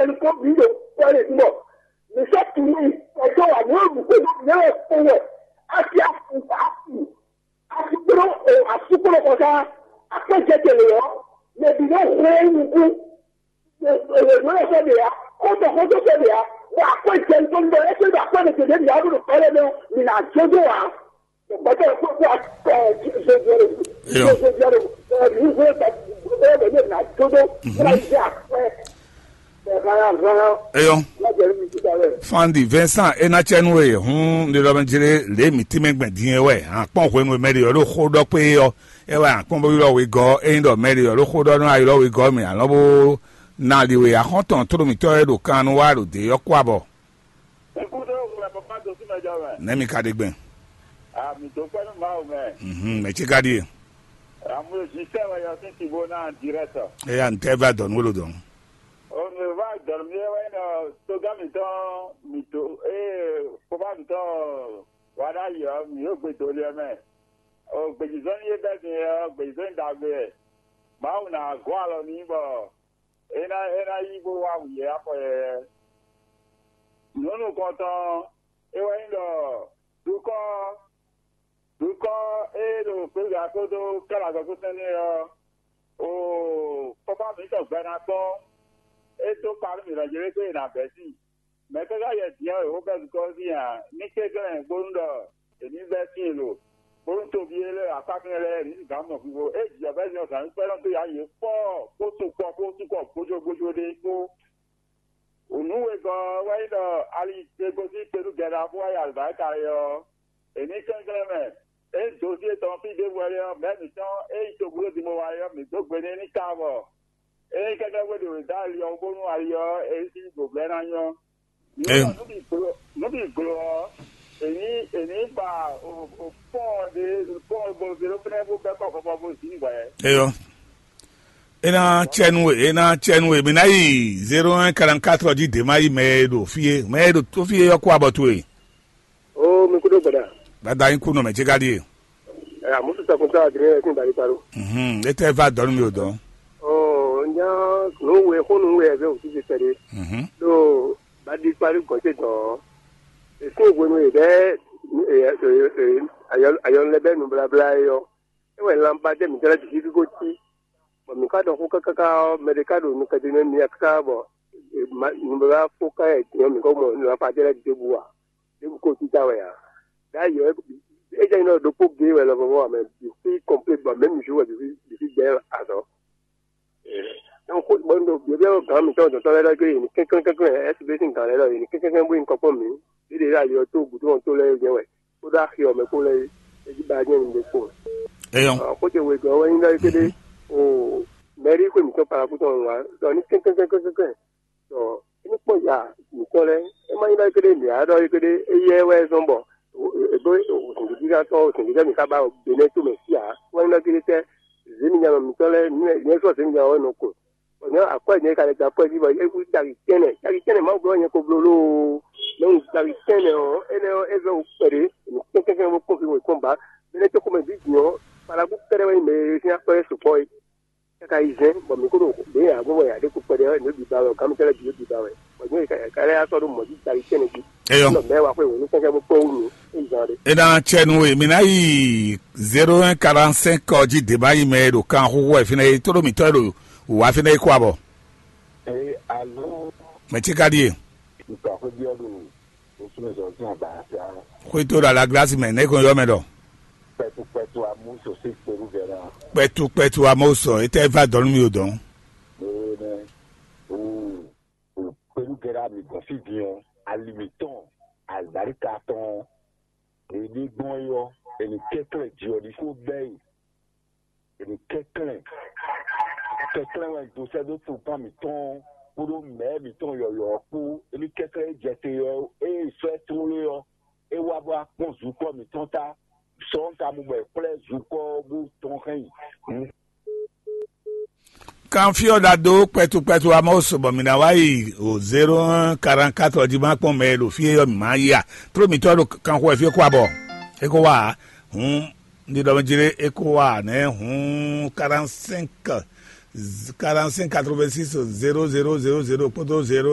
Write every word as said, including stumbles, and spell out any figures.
Ko mi ɖo kɔlɛ mɔ mi sɔ tunu kɔjɔ wa mi ɖu ko mi lɛ ko wɛ asi afu afu asi kplo o asu kplo kɔsa akpɛ jɛ tele yɔ mɛ bi ne hwɛ nuku. Wɛwɛ sɔ de ya, xɔtɔ xɔtɔ sɔ de ya, bɔ akpɛ jɛ ntɔ ntɔ ɛsɛ bɛ akpɛ ne tele mi adu kɔlɛ mɛ mi na jojo wa. Bɔtɔ ko ko akpɛ jojo de. Jojo de. Ni hwɛ bɛ bɛ ne na jojo. Na jɛ akpɛ. Eyɔ. Fandi Vincent, e ná cɛ nú we hǔn ɖe ɖɔ mɛ jlé lě mǐ tínmɛ gbɛn din é wɛ. Akpɔn hwenu e mɛ ɖe ɔ́ ɖo xó ɖɔ kpé é ɔ́, é wɛ akpɔn bó ylɔ́ wegɔ́. Ényí ɖɔ mɛ ɖe ɔ́ ɖo xó ɖɔ nú a ylɔ́ wegɔ́ mɛ alɔ́ bó ná li we axɔ́ntɔn tló mǐtɔn e ɖo kan nu wá ɖo dě ɔ́ kú abɔ. Ikú tó wúlò ẹ̀ bàbá tó sí mẹ́jọ mẹ́. Nɛ́ mi ka ɖe gbɛn? Àmì tó pẹ́ nú Mawu mẹ́. Mhm, mɛ ce ka ɖíe. Àmú èsì sẹ́wọ̀ yọ sí tìbó náà direct. Eya ntɛ va dɔn wolo dɔn. Òun lè va dɔn mi wɛ nɔ tógá mǐtɔn mǐtó ee kóbá mǐtɔn wà ɖ'ayǐ ɔ́, mǐ yóò gbe dó liɛ mɛ. O gbèjìzɔ́n ní é bɛ́ din ɔ́, gbèjìzɔ́n ní ɖagbe wɛ. Mawu ná gɔ́ alɔ n'i bɔ é ná é ná yí bó wá wǔ yɛ afɔ yɛyɛ. Nǔ nukɔntɔn é wɛ nyí ɖɔ dukɔ́ dukɔ́ e ɖo gběgbě kpódó kɛ́lɛ azɔ̌ kpó sɛn n'i ɔ́, oo, kɔ́fá mǐtɔn gbɛ ná kpɔ́n. É dó kpa nú mǐ lɔ jlé gbé è nǎ bɛ̌ sín. Mɛ̌ ká ká yɛ din ɔ́, è wǒ bɛ́ zukɔ́ sín ǎ, ní kɛnklɛ́n bónú ɖɔ è ní bɛ́ sín lo, bónú toví e lɛ́ akpákɛn lɛ́ɛ ní gǎn mɔ vivo. É jǐ ɔ́ bɛ́ din ɔ́, zǎn kpɛ́ nɔ dó yǎ yě kpɔ́ kpó tokpɔ kpó tokpɔ gbójógbójó ɖé kpó. Nǔ wegɔ́ ɔ́ wɛ nyí ɖɔ ali e gosín kpedúgɛ́ ná bó wá yi alǐbáríka é ɔ́, è ní kɛnklɛ́n mɛ. É nyí dosyé tɔn fí ɖěbǔ wɛ é ɔ́, mɛ̌ mǐtɔn e nyí togbó din bó wá é ɔ́, mǐ dó gbe n'i ní ka bɔ é nyí kɛ́kɛ́ xwé ɖě wě dó ali ɔ́ wú bónú ali ɔ́ é sín ɖǒblɛ́ ná nyɔ́. Mǐ mɔ nǔ bǐ glo nǔ bǐ glo ɔ́, è ní è ní ba fɔ́n ɖé fɔ́n bo zé ɖó fínɛ́ bó bɛ́ kɔ vɔvɔ bó zǐn hwɛ̌. Eyɔ. É ná cɛ nú we, é ná cɛ nú we. Mǐ ná yi zéro un quarante quatre jí dě má yi mɛ e ɖo fí é. Mɛ e ɖo tó fí é ɔ́ kó abɔ towe. Oo, mi kúɖó gbɛɖa. Dada yín kú nɔ mɛ ce ka ɖíe. Ɛ, àmúsù sɔkun tɔ́ adrɛ ɛ sín bali kpalo. Mhm, é tɛ va dɔn nú mi o dɔn. Oo, nya nǔ we xó nǔ we ɛ vɛ òsì fi kpɛɖé. Mhm. Ɖo bali kpalo gɔn ce dɔn. Èsín hwenu e bɛ ayɔnu lɛ bɛ nubláblá é ɔ́, é wɛ lanbadɛ mǐtɔn lɛ́ɛ bǐ cí kókó cí. Bɔ mǐ ka ɖɔ xó káká ɔ́, mɛ ɖé ka ɖo nukɛn ɖé nú émí káká bɔ nubláblá fó ká yɛ din ɔ́, mǐ kɔ mɔ lanbadɛ lɛ́ɛ ɖěbǔ ǎ. Ɖěbǔ ko títá wɛ ǎ. Ɖ'ayǐ ɔ́, é jɛ nyí ɖɔ ɖokpó géé wɛ lɔmɔ̌ ɔ́, mɛ bǐ sí kɔnplé bɔ mɛ̌ mǐ sú wɛ bǐ sí bǐ sí gbɛ́ azɔ̌. Donc xó bɔ un ɖo byɔ̌byɔ́ gǎn mǐtɔn dɔ̌tɔ́ lɛ́ɛ ɖɔ gbé yě ní kɛnklɛ́n kɛnklɛ́n, S B sín gǎn lɛ́ɛ ɖɔ yě ní kɛnklɛ́n kɛnklɛ́n bó nyí kɔkpɔ́n mǐ. Yě ɖě ɖo ali ɔ́ tó gǔdo ɔ́ tó lɛ́ɛ jɛ́n wɛ, kpódó axi ɔ́ mɛ kpó lɛ́ɛ é jí ba jɛ́n nǔɖé kpó. Eyɔn. Xó ce wegɔ́ ɔ́ wɛ nyí ɖɔ ékéɖé o mɛ̌rí xwé mǐtɔn Palakú tɔn wá ɖɔ ní kɛnklɛ́n kɛnklɛ́n kɛnklɛ́n. Tɔ é ní kpɔ́n ya mǐtɔn lɛ́ɛ, é má nyí ɖɔ ékéɖé mǐ á ɖɔ ékéɖé éyɛ́ wɛ zɔ́n bɔ è bó zǐngídígán tɔn zǐngídígán mǐ ka ba Benɛ́ tomɛ fí ǎ. Wɛ nyí ɖɔ ékéɖé tɛ́ zěmijanɔ mǐtɔn lɛ́ɛ nyɛ sɔ́ zěmijanɔ wɛ nɔ kun. Bɔ nyɛ akwɛ́ nyɛ ka lɛ dó akwɛ́ jí bɔ é kú caki tɛ́nnɛ, caki tɛ́nnɛ Mawu bló nyɛ ko bló lóo. Mɛ un caki tɛ́nnɛ ɔ́, énɛ́ ɔ́, é vɛ́ wú kpɛɖé, mǐ kɛ́kɛ́kɛ́ bó kpɔ́n fí wěkpɔ́n ba. Benɛ́ tó xomɛ ví din ɔ́, Palakú kɛ́ɖɛ́ wɛ nyí mɛ e sín akwɛ́ sukpɔ́ é. Káká yi zɛ́n bɔ mǐ kó ɖo ɖě ǎ gbɔn bɔ yǎ ɖe kpɛɖé ɔ́, nǔ bǐ ba wɛ, gǎn mitɔ́ lɛ́ɛ bǐ yó bǐ ba wɛ. Bɔ nyɛ ka lɛ́ yá sɔ́ ɖó mɔ̌ jí tali tɛ́nɛ jí. Eyɔ. Nɔ mɛ̌ wa xwé wǒ nú kɛ́kɛ́ bó kpɔ́n wú mǐ é zán ɖé. E ná cɛ nú we, mǐ ná yi zéro un quarante cinq ɔ́ jí dě má yi mɛ e ɖo kan xóxó wɛ fínɛ́ é, tóɖó mǐtɔn e ɖo wǔwá fínɛ́ é kó abɔ. Ee, alo. Mɛ ce ka ɖíe. Nka xwé byɔ́ ɖo osúnmɛ zɔn sín agba sia. Xwé tó ɖo alaglasi mɛ, nɛ̌ kɔn yɔ mɛ ɖɔ. Kpɛtu kpɛtu amú sosí kpɛrú vɛ́ ná. Kpɛtu kpɛtu amó sɔ, é tɛ va dɔn nú mi o dɔn. Ee, nɛ. Oo, oo, kpɛrú gɛ́ ɖá mi gɔn fí din ɔ́, ali mǐtɔn, azǎlíka tɔn ɔ́, è ní gbɔn é ɔ́, è ní kɛ́klɛ́ ji ɔ́ ɖi fó bɛ́ e. Èmi kɛnklɛ́n, kɛnklɛ́n wɛ un dó sɛ́ dó togán mǐtɔn kpódó mɛ̌ mǐtɔn yɔ̌yɔ́ ɔ́ kpó. Èmi kɛnklɛ́n e jɛ te ɔ́, ée sɔ́ ɛ tlólé ɔ́, é wá bó wá kpɔ́n zukɔ́ mǐtɔn ta. Sɔ ɔ́ ka mu bɔ è kplɔ́ zukɔ́ ɔ́ bó tɔn hɛn yi. Kanfyɔ ɖado kpɛtu kpɛtu amɔ sɔ bɔ mǐ ná wá yi o zéro un quarante quatre ɔ́ jí má kpɔn mɛ e ɖo fí é ɔ́ mǐ má yi a. Tló mǐtɔn ɖo kanxo wɛ fí é kó abɔ é kó wá a. Hǔn ní ɖɔ mɛ jlé é kó wá a nɛ́ hǔn quarante cinq quarante cinq quatre vingt six zéro zéro zéro zéro kpódó zéro